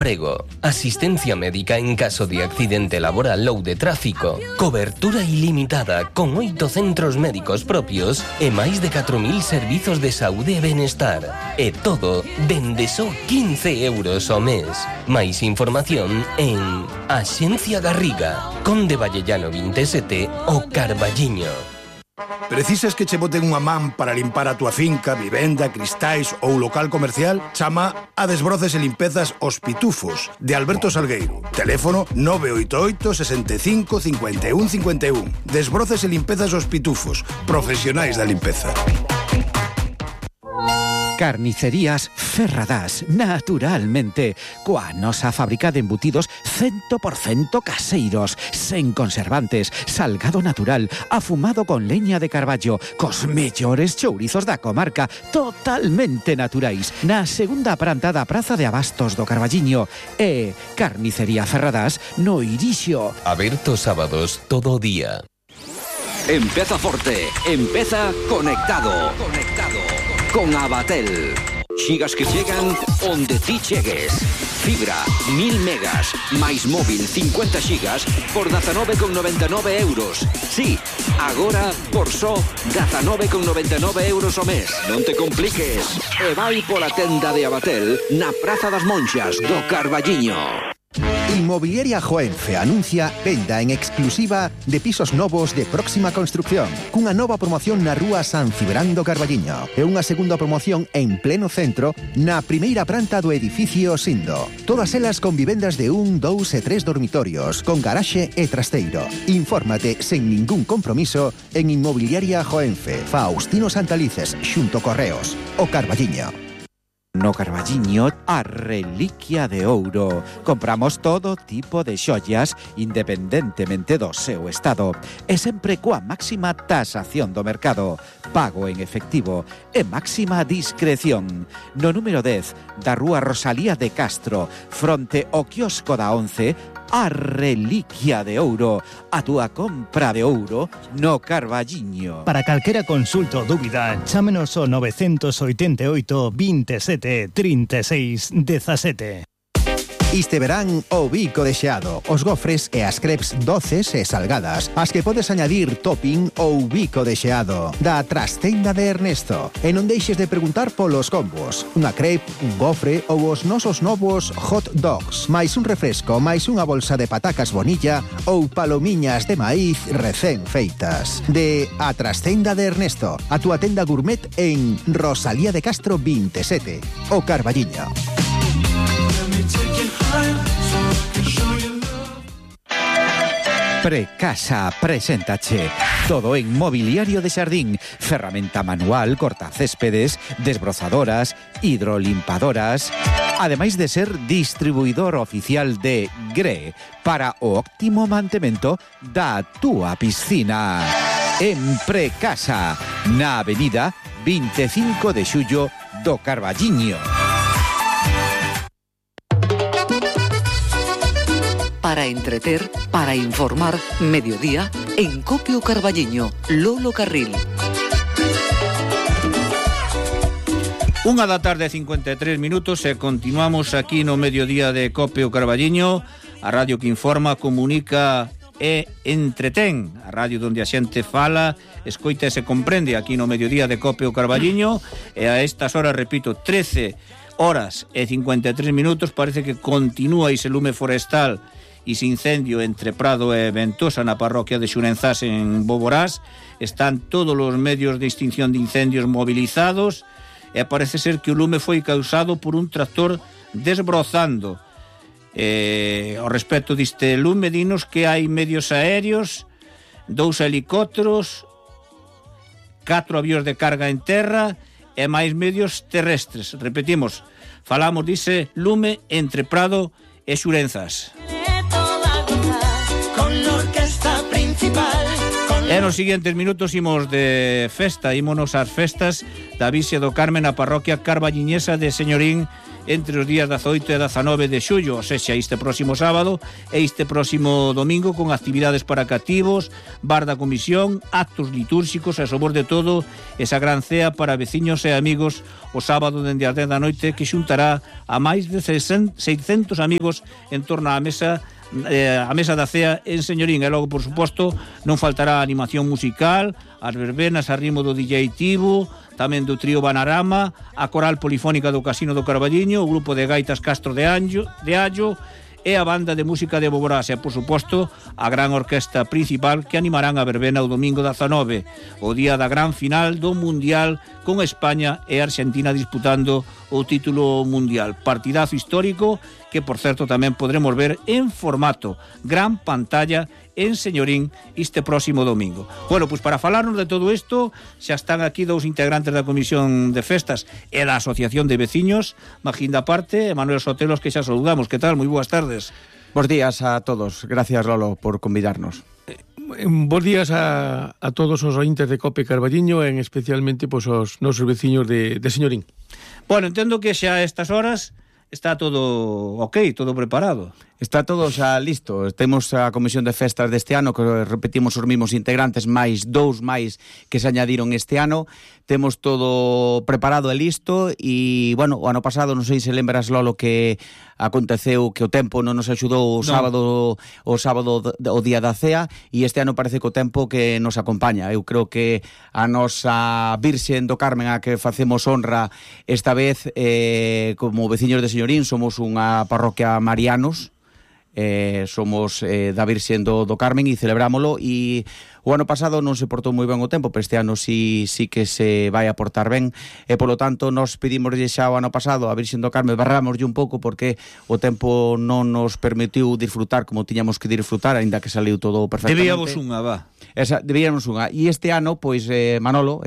Prego, asistencia médica en caso de accidente laboral ou de tráfico, cobertura ilimitada con 8 centros médicos propios e máis de 4.000 servizos de saúde e benestar. E todo dende só 15 euros ao mes. Máis información en Axencia Garriga, Conde Vallellano 27, o Carballiño. Precisas que che boten unha man para limpar a túa finca, vivenda, cristais ou local comercial? Chama a Desbroces e Limpezas Os Pitufos, de Alberto Salgueiro. Teléfono 988 65 51 51. Desbroces e Limpezas Os Pitufos, profesionais da limpeza. Carnicerías Ferradás, naturalmente, coa nosa fábrica de embutidos 100% caseiros, sen conservantes, salgado natural, afumado con leña de carballo, cos mellores chourizos da comarca, totalmente naturais, na segunda planta da Praza de Abastos do Carballiño, e Carnicería Ferradás no Irixo. Aberto sábados todo o día. Empeza forte, empeza conectado. Con Abatel. Xigas que chegan onde ti chegues. Fibra, 1000 megas, máis móvil 50 xigas por 19,99 euros. Sí, agora por só 19,99 euros ao mes. Non te compliques. E vai pola tenda de Abatel na Praza das Monxas do Carballiño. Inmobiliaria Joenfe anuncia venda en exclusiva de pisos novos de próxima construcción, cunha nova promoción na rúa San Cibrán do Carballiño e unha segunda promoción en pleno centro na primeira planta do edificio Sindo. Todas elas con vivendas de 1, 2 e 3 dormitorios, con garaxe e trasteiro. Infórmate sen ningún compromiso en Inmobiliaria Joenfe, Faustino Santalices, xunto Correos, o Carballiño. No Carballiño, a reliquia de ouro. Compramos todo tipo de xollas independentemente do seu estado e sempre coa máxima tasación do mercado, pago en efectivo e máxima discreción. No número 10 da rúa Rosalía de Castro, fronte ao quiosco da 11, a reliquia de ouro, a túa compra de ouro no Carballiño. Para calquera consulta ou dúbida, chámenos ao 988 27 36 17. Este verán o bico de xeado, os gofres e as crepes doces e salgadas, as que podes añadir topping ou bico de xeado, da Trastenda de Ernesto. E non deixes de preguntar polos combos, unha crepe, un gofre ou os nosos novos hot dogs, máis un refresco, máis unha bolsa de patacas bonilla ou palomiñas de maíz recén feitas. De a Trastenda de Ernesto, a túa tenda gourmet en Rosalía de Castro 27, o Carballiño. Precasa preséntache todo en mobiliario de xardín, ferramenta manual, cortacéspedes, desbrozadoras, hidrolimpadoras, ademais de ser distribuidor oficial de GRE para o óptimo mantemento da túa piscina. En Precasa, na avenida 25 de xullo do Carballiño. Para entreter, para informar, mediodía, en Copio Carballiño, Lolo Carril. 1:53 e continuamos aquí no mediodía de Copio Carballiño, a radio que informa, comunica e entretén, a radio onde a xente fala, escoita e se comprende aquí no mediodía de Copio Carballiño, e a estas horas, repito, 13 horas e 53 minutos, parece que continúa ese lume forestal e ese incendio entre Prado e Ventosa na parroquia de Xurenzás en Boborás. Están todos os medios de extinción de incendios movilizados e parece ser que o lume foi causado por un tractor desbrozando. Ao respecto deste lume, dinos que hai medios aéreos, 2 helicópteros, 4 avións de carga en terra e máis medios terrestres. Repetimos, falamos dice lume entre Prado e Xurenzás. E nos seguintes minutos imos de festa, ímonos ás festas da Vixia do Carmen na parroquia carballiñesa de Señorín entre os días 18 e 19 de xullo, ou sexa, este próximo sábado e este próximo domingo, con actividades para cativos, bar da comisión, actos litúrxicos e, sobre de todo, esa gran cea para veciños e amigos o sábado dende as 10 da noite, que xuntará a máis de 600 amigos en torno á mesa da cea en Señorín. E logo, por suposto, non faltará a animación musical, as verbenas a ritmo do DJ Tibo, tamén do trío Banarama, a coral polifónica do Casino do Carballiño, o grupo de gaitas Castro de Allo e a banda de música de Boborás e, por suposto, a gran orquesta principal que animarán a verbena o domingo 19, o día da gran final do Mundial, con España e Argentina disputando o título mundial. Partidazo histórico que, por certo, tamén podremos ver en formato gran pantalla en Señorín este próximo domingo. Bueno, pois para falarnos de todo isto, xa están aquí dous integrantes da Comisión de Festas e da Asociación de Veciños, Magín da parte e Manuel Sotelos, que xa saludamos. Que tal? Moi boas tardes. Bos días a todos. Gracias, Lolo, por convidarnos. Bos días a todos os ointes de Cope Carballiño, en especialmente pois, os nosos veciños de Señorín. Bueno, entendo que xa a estas horas está todo ok, todo preparado. Está todo xa listo. Temos a Comisión de Festas deste ano, que repetimos os mismos integrantes, máis dous máis que se añadiron este ano. Temos todo preparado e listo e, bueno, o ano pasado, non sei se lembras, Lolo, que aconteceu que o tempo non nos axudou o sábado o día da cea, e este ano parece que o tempo que nos acompaña. Eu creo que a nosa Virxen do Carmen, a que facemos honra esta vez, como veciños de Señorín, somos unha parroquia marianos, somos da Virxen do Carmen e celebrámolo, e o ano pasado non se portou moi ben o tempo, pero este ano sí que se vai a portar ben, e polo tanto nos pedimos xa o ano pasado a Virxen do Carmen, barrámoslle un pouco porque o tempo non nos permitiu disfrutar como tiñamos que disfrutar, aínda que saliu todo perfectamente. Debíamos unha, debíamos unha, e este ano, pois, Manolo,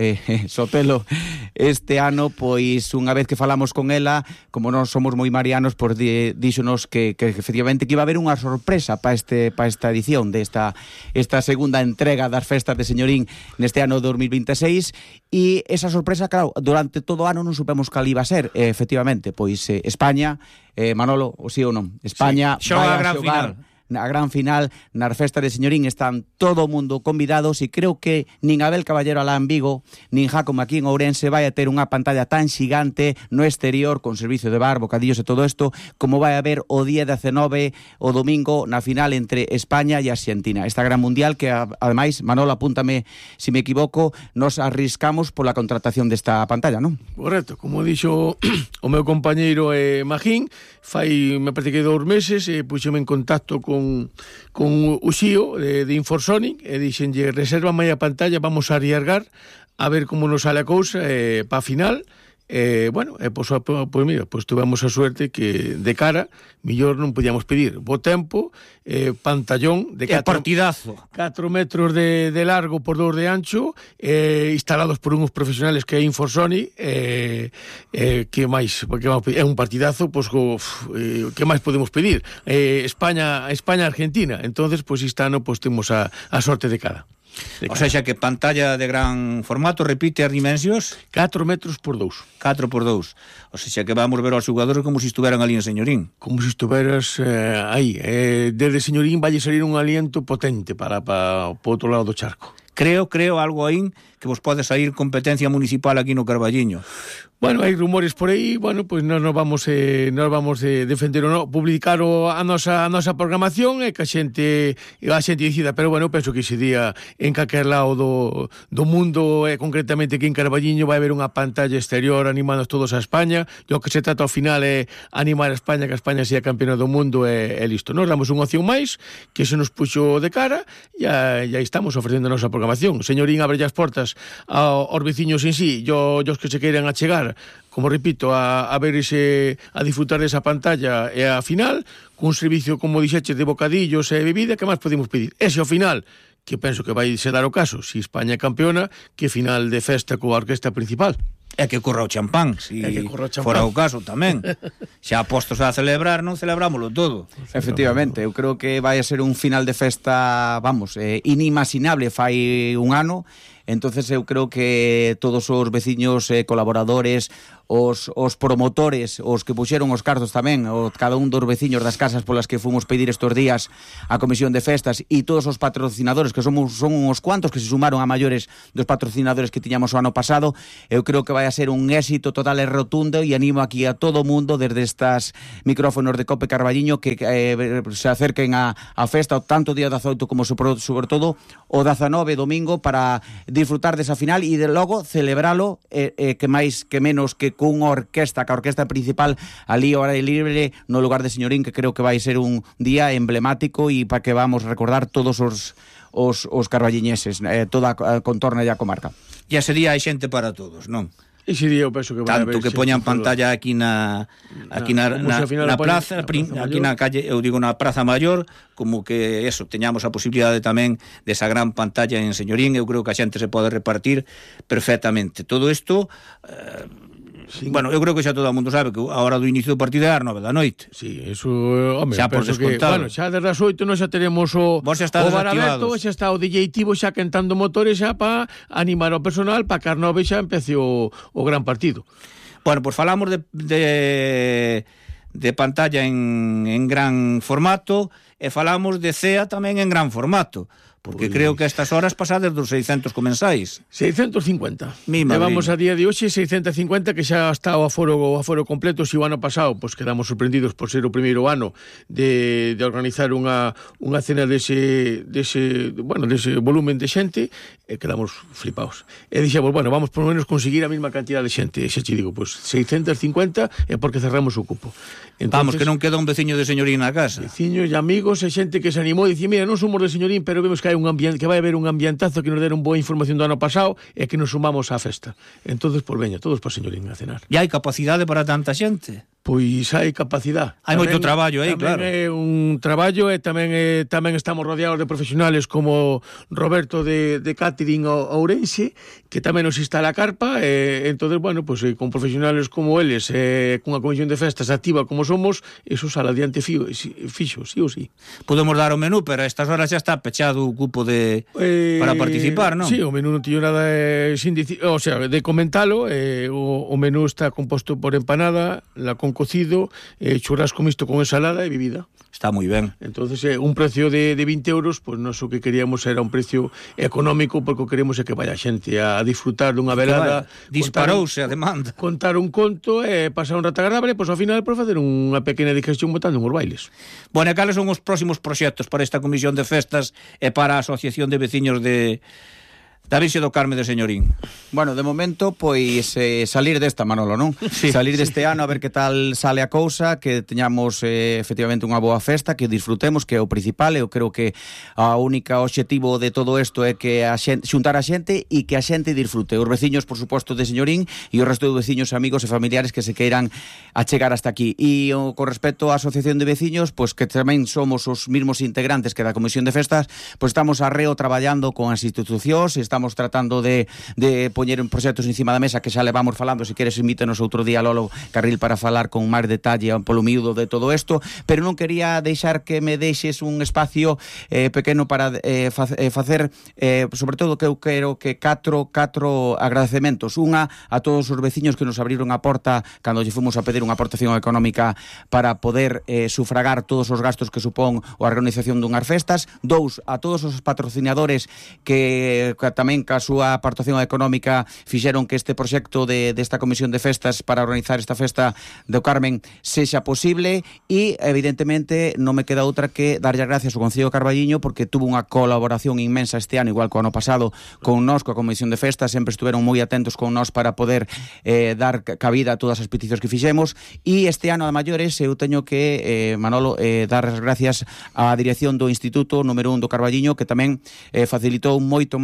Sotelo, este ano, pois, unha vez que falamos con ela, como non somos moi marianos, pois díxonos que efectivamente que iba a haber unha sorpresa para esta edición desta segunda entrega das festas de Señorín neste ano 2026, e esa sorpresa, claro, durante todo o ano non supemos cal iba a ser. Efectivamente, pois España, Manolo, o sí ou non? España sí, vai a xogar a gran final nas festas de Señorín. Están todo o mundo convidados, e creo que nin Abel Caballero alá en Vigo, nin Jácome aquí en Ourense vai a ter unha pantalla tan xigante no exterior, con servicio de bar, bocadillos e todo isto, como vai a haber o día 19, o domingo, na final entre España e Argentina. Esta gran mundial que, ademais, Manolo, apúntame se me equivoco, nos arriscamos pola contratación desta pantalla, non? Correcto, como dixo o meu compañeiro Magín, me parece que 2 meses, puxeme en contacto con o xío de Inforsonic e dixenlle, reserva a pantalla, vamos a arriesgar a ver como nos sale a cousa para a final. Bueno, pois mira, pois tuvemos a suerte que de cara millor non podíamos pedir. Bo tempo, pantallón de 4 metros de largo por 2 de ancho, instalados por uns profesionales que é Inforsonic, que máis? Porque é un partidazo, pois que máis podemos pedir? España-Argentina. Entonces, pois este ano pois temos a sorte de cara. O sea, que pantalla de gran formato, repite as dimensións? 4 metros por 2. 4 por 2. O sea, que vamos ver aos xogadores como se estuveran ali en Señorín. Como se estuveras aí. Desde Señorín vai salir un aliento potente para o outro lado do charco. Creo algo aí que vos pode sair competencia municipal aquí no Carballiño. Bueno, hai rumores por aí, bueno, pois nos vamos defender ou non, publicar a nosa programación e que a xente decida, pero bueno, penso que ese día en calquer lado do mundo, concretamente aquí en Carballiño, vai haber unha pantalla exterior animando todos a España, e o que se trata ao final é animar a España, que a España sea campeona do mundo e listo. Nos damos unha opción máis, que se nos puxo de cara, e aí estamos ofrecendo a nosa programación. Señorín, abre as portas aos veciños en sí, e os que se queiran achegar, como repito, a disfrutar desa pantalla e a final, cun servicio, como dixeche, de bocadillos e bebida, que máis podemos pedir? Ese ao final, que penso que vai se dar o caso, si España é campeona, que final de festa coa orquesta principal. É que corra o champán, si fora o caso tamén. Xa postos a celebrar, non celebrámoslo todo. Efectivamente, eu creo que vai a ser un final de festa, vamos, inimaginable fai un ano. entonces eu creo que todos os veciños, colaboradores, os promotores, os que puxeron os cartos tamén, cada un dos veciños das casas polas que fomos pedir estes días a Comisión de Festas, e todos os patrocinadores, que son uns cuantos que se sumaron a maiores dos patrocinadores que tiñamos o ano pasado, eu creo que vai a ser un éxito total e rotundo, e animo aquí a todo o mundo desde estas micrófonos de Cope Carballiño que se acerquen a festa, tanto o día 18 como sobre todo o 19 domingo, para disfrutar desa final e de logo celebralo que máis que menos que cunha orquesta, que a orquesta principal ali ao aire libre no lugar de Señorín, que creo que vai ser un día emblemático e para que vamos recordar todos os carballiñeses, toda a contorna e a comarca. E ese día hai xente para todos, non? Ese día eu penso que vai haber tanto que poñan pantalla aquí na plaza, aquí na calle, eu digo na Praza Maior, como que eso, teñamos a posibilidade tamén desa gran pantalla en Señorín. Eu creo que a xente se pode repartir perfectamente. Todo isto sí. Bueno, eu creo que xa todo o mundo sabe que a hora do inicio do partido é as 9 da noite. Sí, eso, home, xa por descontado. Bueno, xa desde as 8 nós xa teremos o bar aberto, xa está o DJ Tivo xa quentando motores xa para animar ao personal para que as 9 xa empece o gran partido. Bueno, pues falamos de pantalla en gran formato e falamos de CEA tamén en gran formato. Porque creo que a estas horas pasades dos 600 comensais. 650. Levamos a día de hoxe 650, que xa está o aforo completo. Se o ano pasado pues quedamos sorprendidos por ser o primeiro ano de organizar unha cena dese volumen de xente, e quedamos flipados. E dixemos, bueno, vamos por lo menos conseguir a mesma cantidad de xente. E xa te digo, pues 650 é porque cerramos o cupo. Entonces, vamos, que non queda un veciño de Señorín na casa. Veciños e amigos e xente que se animou e dicía, mira, non somos de Señorín, pero vemos que vai haber un ambientazo, que nos deron boa información do ano pasado e que nos sumamos á festa. Entonces, pues veña, todos para Señorín a cenar. E hai capacidade para tanta xente? Pois hai capacidade. Hai moito traballo aí, claro. Tamén é un traballo e tamén estamos rodeados de profesionales como Roberto de Catering Ourense, que tamén nos instala a carpa, e entonces, bueno, pues con profesionales como eles, cunha comisión de festas activa como somos, eso sale adiante fixo, sí ou sí. Podemos dar o menú, pero a estas horas xa está pechado o cupo para participar, non? Sí, o menú non tiño nada de comentalo. O menú está composto por empanada, con cocido, churrasco mixto con ensalada e bebida. Está moi ben. Entonces, un precio de 20 euros, pues nós o que queríamos era un precio económico, porque o queremos é que vaya xente a disfrutar dunha velada. Disparouse a demanda. Contar un conto e pasar un rato agradable, pois ao final por facer unha pequena digestión botando uns bailes. Bueno, e cales son os próximos proxectos para esta Comisión de Festas e para a Asociación de Veciños da Virxe do Carme de Señorín? Bueno, de momento, pois salir desta, Manolo, non? Sí, salir deste ano a ver que tal sale a cousa, que teñamos efectivamente unha boa festa, que disfrutemos, que é o principal. Eu creo que a única obxectivo de todo isto é que xuntar a xente e que a xente disfrute. Os veciños, por suposto, de Señorín e o resto de veciños, amigos e familiares que se queiran achegar hasta aquí. E con respecto á Asociación de Veciños, pois que tamén somos os mismos integrantes que da Comisión de Festas, pois estamos arreo traballando con as institucións, estamos tratando de poñer un proxectos encima da mesa que xa levamos falando. Se queres invítanos outro día, Lolo Carril, para falar con máis detalle polo miúdo de todo isto, pero non quería deixar que me deixes un espacio pequeno para facer sobre todo que eu quero que catro agradecementos. Unha a todos os veciños que nos abriron a porta cando lle fomos a pedir unha aportación económica para poder sufragar todos os gastos que supón a organización dunhas festas. Dous, a todos os patrocinadores que tamén ca súa aportación económica fixeron que este proxecto desta Comisión de Festas para organizar esta festa do Carmen sexa posible. E evidentemente non me queda outra que darlle as gracias ao Concello de Carballiño, porque tuvo unha colaboración inmensa este ano, igual que o ano pasado con nós, coa Comisión de Festas. Sempre estuveron moi atentos con nós para poder dar cabida a todas as peticións que fixemos. E este ano a maiores eu teño que, Manolo, dar as gracias á dirección do Instituto número 1 do Carballiño, que tamén facilitou moito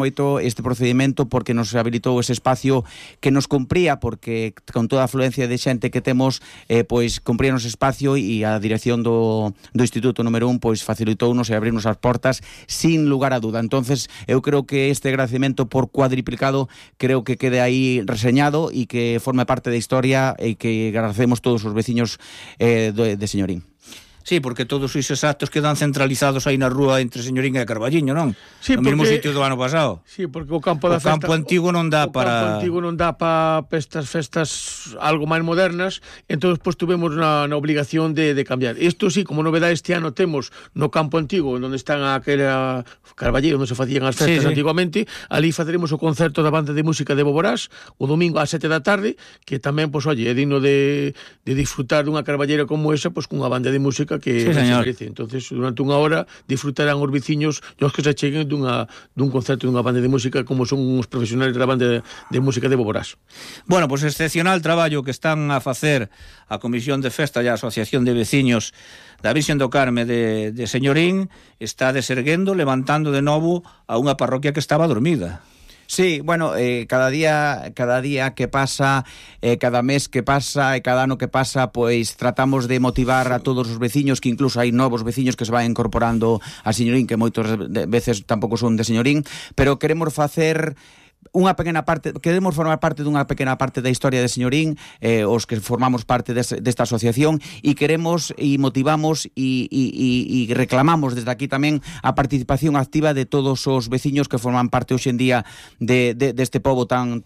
este procedimento, porque nos habilitou ese espacio que nos cumpría, porque con toda a afluencia de xente que temos, pois cumpríanos espacio, e a dirección do Instituto número 1 pois facilitounos e abrirnos as portas sin lugar a duda. Entonces eu creo que este agradecemento por cuadriplicado creo que quede aí reseñado e que forme parte da historia, e que agradecemos todos os veciños de Señorín. Sí, porque todos esos actos quedan centralizados aí na rúa entre Señorín e Carballiño, non? Sí, no mesmo sitio do ano pasado. Sí, porque o campo da festa... O campo antigo non dá para... O campo antigo non dá para estas festas algo máis modernas, entón, pois, tuvemos na obligación de cambiar. Isto sí, como novedade este ano temos no campo antigo, onde están aquela Carballeiro, onde se facían as festas antiguamente, ali faceremos o concerto da banda de música de Boborás, o domingo ás 7 da tarde, que tamén, pois, oye, é digno de disfrutar dunha carballeira como esa, pois, cunha banda de música que se merece. Entonces, durante unha hora disfrutarán os veciños e os que se cheguen dun concerto dunha banda de música como son os profesionales da banda de música de Boborás. Bueno, pois excepcional traballo que están a facer a Comisión de Festa e a Asociación de Veciños da Virxen do Carme de Señorín, está deserguendo, levantando de novo a unha parroquia que estaba dormida. Sí, bueno, cada día que pasa, cada mes que pasa e cada ano que pasa, pois tratamos de motivar a todos os veciños, que incluso hai novos veciños que se van incorporando a Señorín, que moitas veces tampouco son de Señorín, pero queremos facer unha pequena parte, queremos formar parte dunha pequena parte da historia de Señorín, os que formamos parte desta asociación, e queremos e motivamos e reclamamos desde aquí tamén a participación activa de todos os veciños que forman parte hoxe en día deste pobo tan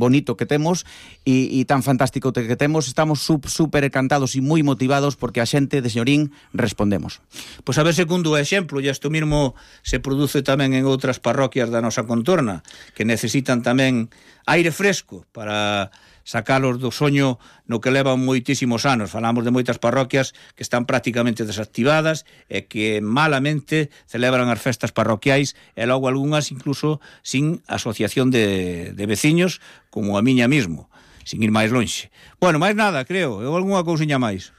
bonito que temos e tan fantástico que temos. Estamos super encantados e moi motivados porque a xente de Señorín respondemos. Pois a ver segundo o exemplo, e isto mesmo se produce tamén en outras parroquias da nosa contorna, que necesitan tamén aire fresco para sacalos do soño no que levan moitísimos anos. Falamos de moitas parroquias que están prácticamente desactivadas e que malamente celebran as festas parroquiais e logo algunhas incluso sin asociación de veciños como a miña mismo, sin ir máis lonxe. Bueno, máis nada, creo, ou algunha cousiña máis.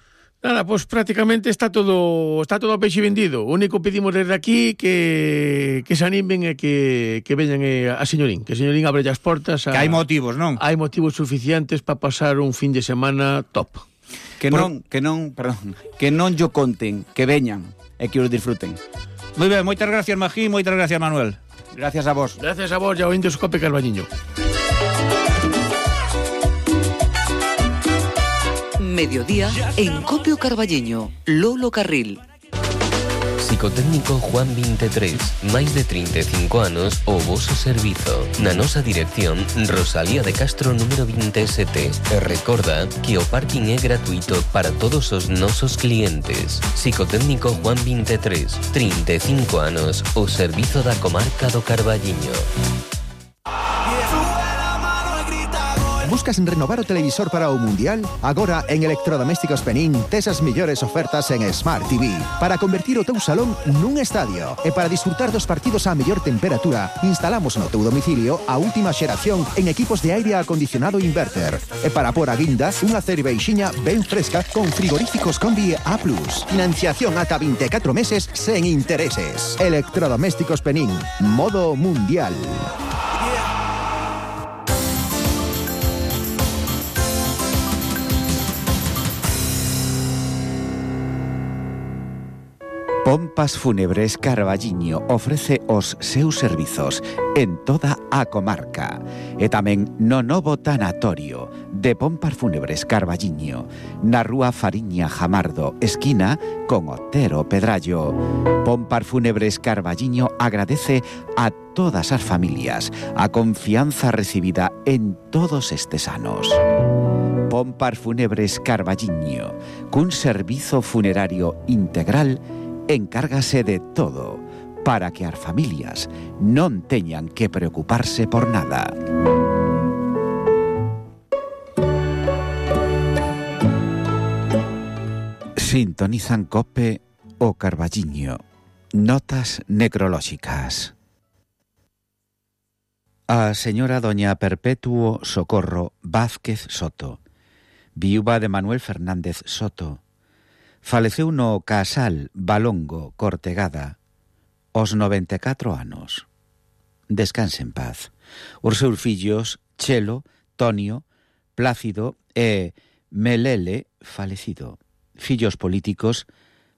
Nada, pois prácticamente está todo a peixe vendido. O único que pedimos desde aquí que se animen e que veñan a Señorín, que Señorín abre as portas. Que hai motivos, non? Hai motivos suficientes para pasar un fin de semana top. Que non yo conten, que veñan e que os disfruten. Moi ben, moitas gracias, Magín, moitas gracias, Manuel. Gracias a vos. Gracias a vos, e ao Indescope Carballiño. Mediodía en Copio Carballiño, Lolo Carril. Psicotécnico Juan 23, máis de 35 anos o voso servizo. Na nosa dirección, Rosalía de Castro número 27. E recorda que o parking é gratuito para todos os nosos clientes. Psicotécnico Juan 23, 35 anos, o servizo da comarca do Carballiño. Buscas renovar o televisor para o Mundial? Agora en Electrodomésticos Penín tes as mellores ofertas en Smart TV para convertir o teu salón nun estadio. E para disfrutar dos partidos á mellor temperatura, instalamos no teu domicilio a última xeración en equipos de aire acondicionado inverter. E para por a guinda, unha cerveixiña ben fresca con frigoríficos Combi A+. Financiación ata 24 meses sen intereses. Electrodomésticos Penín, modo mundial. Pompas Fúnebres Carballiño ofrece os seus servizos en toda a comarca e tamén no novo tanatorio de Pompas Fúnebres Carballiño na rúa Fariña Jamardo, esquina con Otero Pedrallo. Pompas Fúnebres Carballiño agradece a todas as familias a confianza recibida en todos estes anos. Pompas Fúnebres Carballiño, cun servizo funerario integral, encárgase de todo para que as familias non teñan que preocuparse por nada. Sintonizan Cope o Carballiño. Notas necrolóxicas. A señora doña Perpetuo Socorro Vázquez Soto, viúva de Manuel Fernández Soto, faleceu no Casal Balongo Cortegada aos 94 anos. Descanse en paz. Os seus fillos Chelo, Tonio, Plácido e Melele falecido. Fillos políticos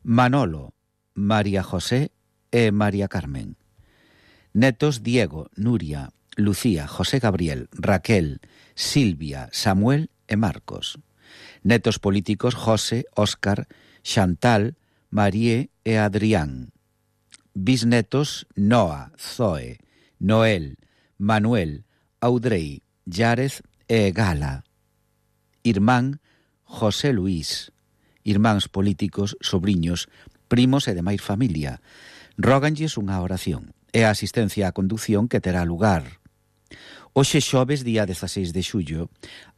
Manolo, María José e María Carmen. Netos Diego, Nuria, Lucía, José Gabriel, Raquel, Silvia, Samuel e Marcos. Netos políticos José, Óscar, Chantal, Marie e Adrián. Bisnetos Noa, Zoe, Noel, Manuel, Audrey, Yarez e Gala. Irmán José Luís. Irmáns políticos, sobriños, primos e demais familia. Róganlles unha oración e a asistencia á condución que terá lugar hoxe xoves, día 16 de xullo,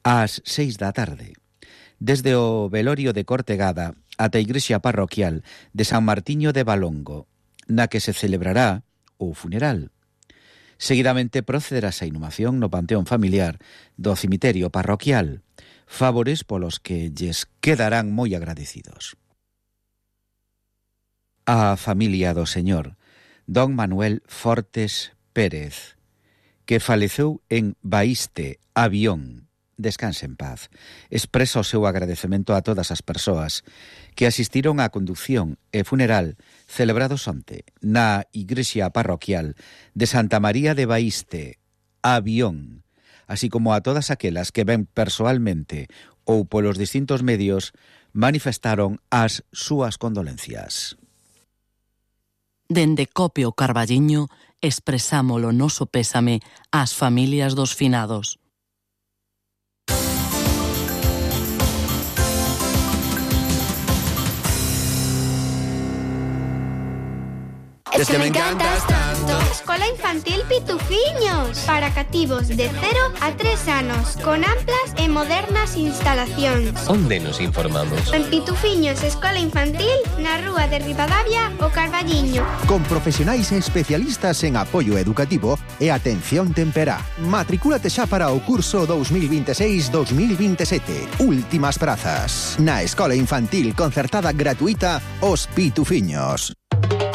ás 6 da tarde. Desde o velorio de Cortegada ata a igrexa parroquial de San Martiño de Valongo, na que se celebrará o funeral. Seguidamente procederase a inhumación no panteón familiar do cemiterio parroquial, favores polos que lles quedarán moi agradecidos. A familia do señor Don Manuel Fortes Pérez, que faleceu en Baíste, Avión, descanse en paz, expresa o seu agradecemento a todas as persoas que asistiron á condución e funeral celebrados onte na igrexa parroquial de Santa María de Baíste, Avión, así como a todas aquelas que ben persoalmente ou polos distintos medios manifestaron as súas condolencias. Dende Copio Carballiño expresamos o noso pésame ás familias dos finados. Es que me encantas tanto. Escola Infantil Pitufiños, para cativos de 0 a 3 anos, con amplas e modernas instalacións. Onde nos informamos? En Pitufiños Escola Infantil, na rúa de Ribadavia, o Carballiño. Con profesionais e especialistas en apoio educativo e atención temperá. Matricúlate xa para o curso 2026-2027. Últimas prazas. Na Escola Infantil concertada gratuita Os Pitufiños.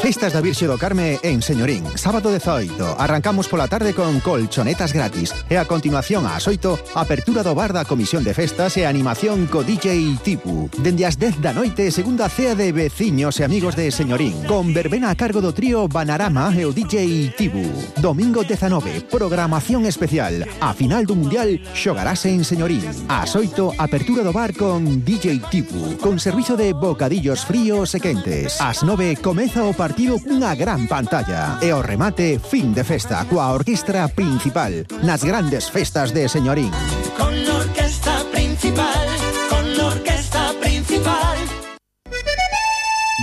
Festas da Virxe do Carme en Señorín, sábado 18. Arrancamos pola tarde con colchonetas gratis e a continuación ás 8, apertura do bar da Comisión de Festas e animación co DJ Tipu. Dende as 10 da noite, segunda cea de veciños e amigos de Señorín, con verbena a cargo do trío Banarama e o DJ Tipu. Domingo 19, programación especial. A final do Mundial xogarase en Señorín. Ás 8, apertura do bar con DJ Tipu, con servizo de bocadillos fríos e quentes. Ás 9, comeza o partido cunha gran pantalla. E o remate, fin de festa coa orquestra principal nas grandes festas de Señorín. Con la orquesta principal, con la orquesta principal.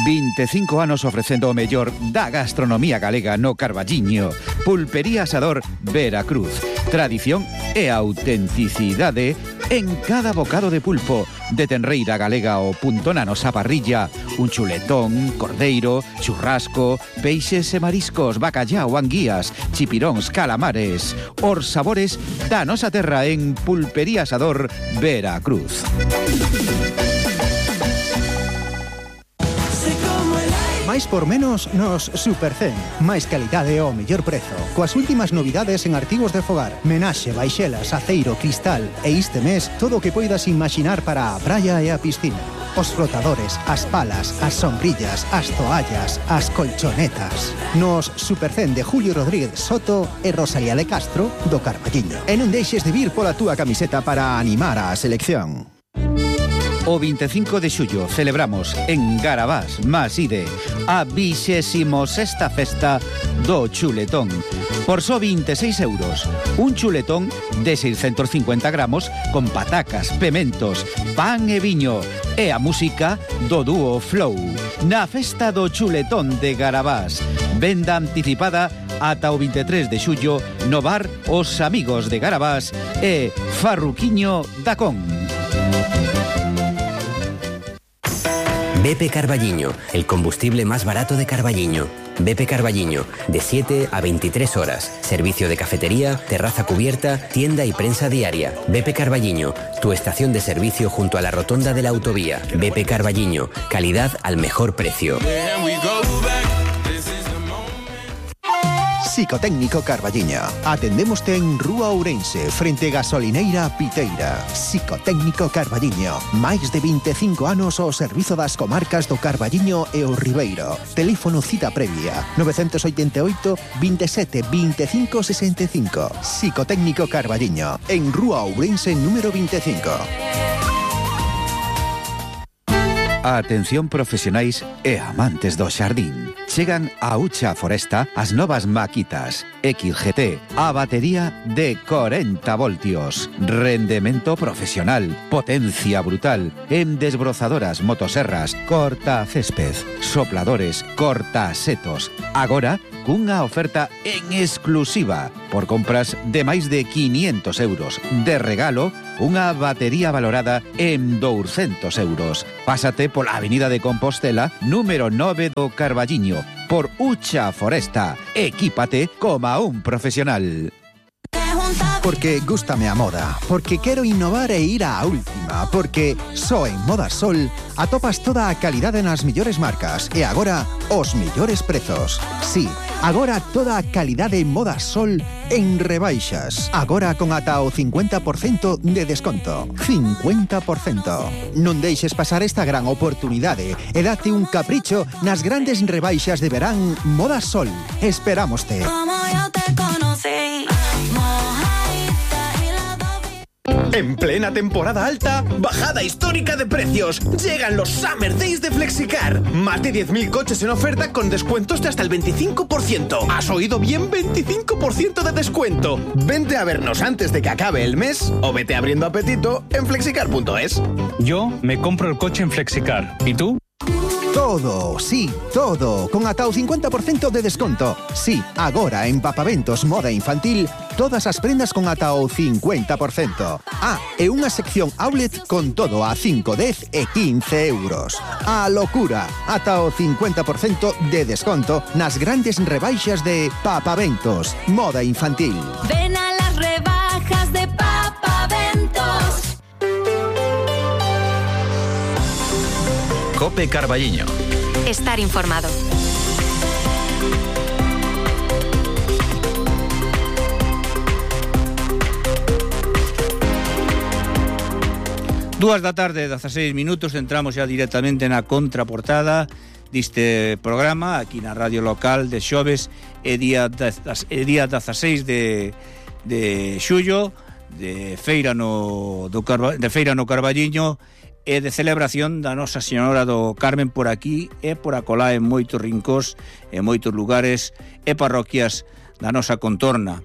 25 anos ofrecendo o mellor da gastronomía galega no Carballiño. Pulpería Asador Veracruz. Tradición e autenticidade en cada bocado de pulpo, de tenreira galega ao punto na nosa parrilla, un chuletón, cordeiro, churrasco, peixes e mariscos, bacallao, anguías, chipiróns, calamares, os sabores da nosa terra en Pulpería Asador Veracruz. Máis por menos nos Supercen. Máis calidade ao mellor prezo. Coas últimas novidades en artigos de fogar. Menaxe, baixelas, aceiro, cristal. E este mes, todo o que poidas imaginar para a praia e a piscina. Os flotadores, as palas, as sombrillas, as toallas, as colchonetas. Nos Supercen de Julio Rodríguez Soto e Rosalía de Castro do Carballiño. E non deixes de vir pola túa camiseta para animar a selección. O 25 de xullo celebramos en Garabás, Maside, a 26ª festa do chuletón. Por só 26 euros, un chuletón de 650 gramos con patacas, pementos, pan e viño e a música do dúo Flow. Na festa do chuletón de Garabás, venda anticipada ata o 23 de xullo no bar Os Amigos de Garabás e Farruquiño da Con. BP Carballiño, el combustible más barato de Carballiño. BP Carballiño, de 7 a 23 horas. Servicio de cafetería, terraza cubierta, tienda y prensa diaria. BP Carballiño, tu estación de servicio junto a la rotonda de la autovía. BP Carballiño, calidad al mejor precio. Psicotécnico Carballiño. Atendémoste en Rúa Ourense, frente Gasolineira Piteira. Psicotécnico Carballiño. Máis de 25 anos ao servizo das comarcas do Carballiño e o Ribeiro. Teléfono cita previa 988 27 25 65. Psicotécnico Carballiño, en Rúa Ourense número 25. Atención profesionais e amantes do xardín. Chegan a Ucha Foresta as novas maquitas XGT, a batería de 40 voltios, rendemento profesional, potencia brutal, en desbrozadoras, motoserras, corta césped, sopladores, corta setos. Agora, cunha oferta en exclusiva, por compras de máis de 500 euros. De regalo, unha batería valorada en 200 euros. Pásate pola Avenida de Compostela, número 9 do Carballiño, por Ucha Foresta. Equípate como un profesional. Porque gústame a moda, porque quero innovar e ir á última, porque só en Moda Sol atopas toda a calidade nas millores marcas e agora os millores prezos. Sí, agora toda a calidade Moda Sol en rebaixas. Agora con ata o 50% de desconto. 50%. Non deixes pasar esta gran oportunidade e date un capricho nas grandes rebaixas de verán Moda Sol. Esperámoste. Como yo te conocí. En plena temporada alta, bajada histórica de precios. Llegan los Summer Days de Flexicar. Más de 10.000 coches en oferta con descuentos de hasta el 25%. ¿Has oído bien? 25% de descuento. Vente a vernos antes de que acabe el mes o vete abriendo apetito en flexicar.es. Yo me compro el coche en Flexicar. ¿Y tú? Todo, sí, todo, con ata o 50% de desconto. Sí, agora en Papaventos Moda Infantil, todas as prendas con ata o 50%. Ah, e unha sección outlet con todo a 5, 10 e 15 euros. A locura, ata o 50% de desconto nas grandes rebaixas de Papaventos Moda Infantil. Ven a las rebajas de Papaventos. Cope Carballiño. Estar informado. Dúas da tarde, 16 minutos, entramos xa directamente na contraportada deste programa aquí na radio local de xoves e día 16 de xullo de feira no Carballiño e de celebración da Nosa Señora do Carmen por aquí e por acolá en moitos rincós, en moitos lugares e parroquias da nosa contorna.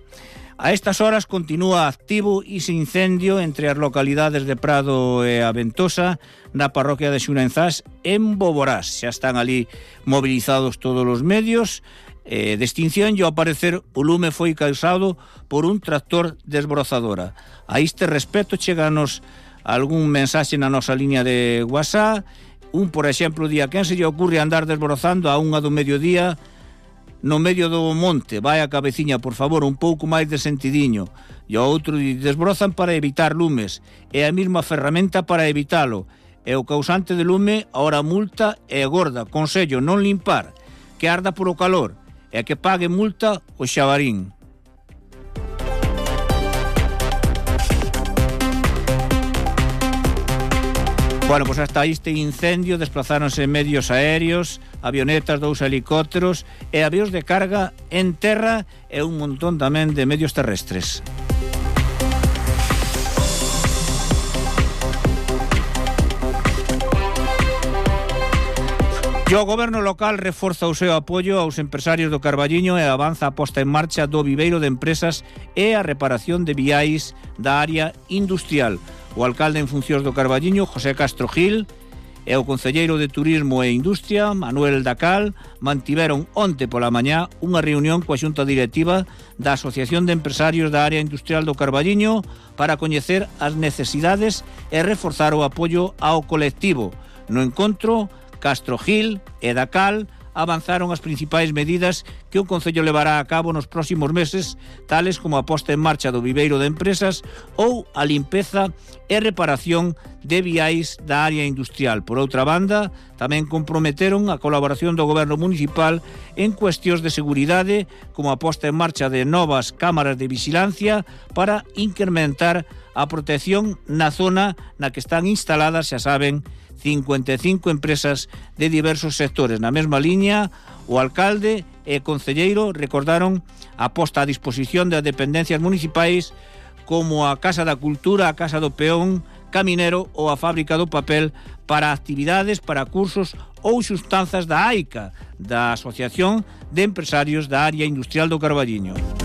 A estas horas continúa activo ese incendio entre as localidades de Prado e a Ventosa na parroquia de Xunenzás en Boborás. Xa están ali movilizados todos os medios de extinción e ao parecer o lume foi causado por un tractor desbrozadora. A este respecto cheganos algún mensaxe na nosa línea de WhatsApp. Por exemplo, día quen se lle ocurre andar desbrozando a 1 do mediodía no medio do monte, vai a cabeciña, por favor, un pouco máis de sentidiño. E o outro desbrozan para evitar lumes, é a mesma ferramenta para evitalo, e o causante de lume, ahora multa é gorda, consello non limpar, que arda por o calor, e que pague multa o xabarín. Bueno, pues hasta este incendio desplazáronse medios aéreos, avionetas, 2 helicópteros e avións de carga en terra e un montón tamén de medios terrestres. E o goberno local reforza o seu apoio aos empresarios do Carballiño e avanza a posta en marcha do viveiro de empresas e a reparación de viais da área industrial. O alcalde en funcións do Carballiño, José Castro Gil, e o concelleiro de Turismo e Industria, Manuel Dacal, mantiveron onte pola mañá unha reunión coa xunta directiva da Asociación de Empresarios da Área Industrial do Carballiño para coñecer as necesidades e reforzar o apoio ao colectivo. No encontro, Castro Gil e Dacal avanzaron as principais medidas que o Concello levará a cabo nos próximos meses, tales como a posta en marcha do viveiro de empresas ou a limpeza e reparación de viais da área industrial. Por outra banda, tamén comprometeron a colaboración do Goberno Municipal en cuestións de seguridade, como a posta en marcha de novas cámaras de vigilancia para incrementar a protección na zona na que están instaladas, xa saben, 55 empresas de diversos sectores. Na mesma liña, o alcalde e concelleiro recordaron a posta a disposición das dependencias municipais como a Casa da Cultura, a Casa do Peón, caminero ou a fábrica do papel para actividades, para cursos ou xuntanzas da AICA, da Asociación de Empresarios da Área Industrial do Carballiño.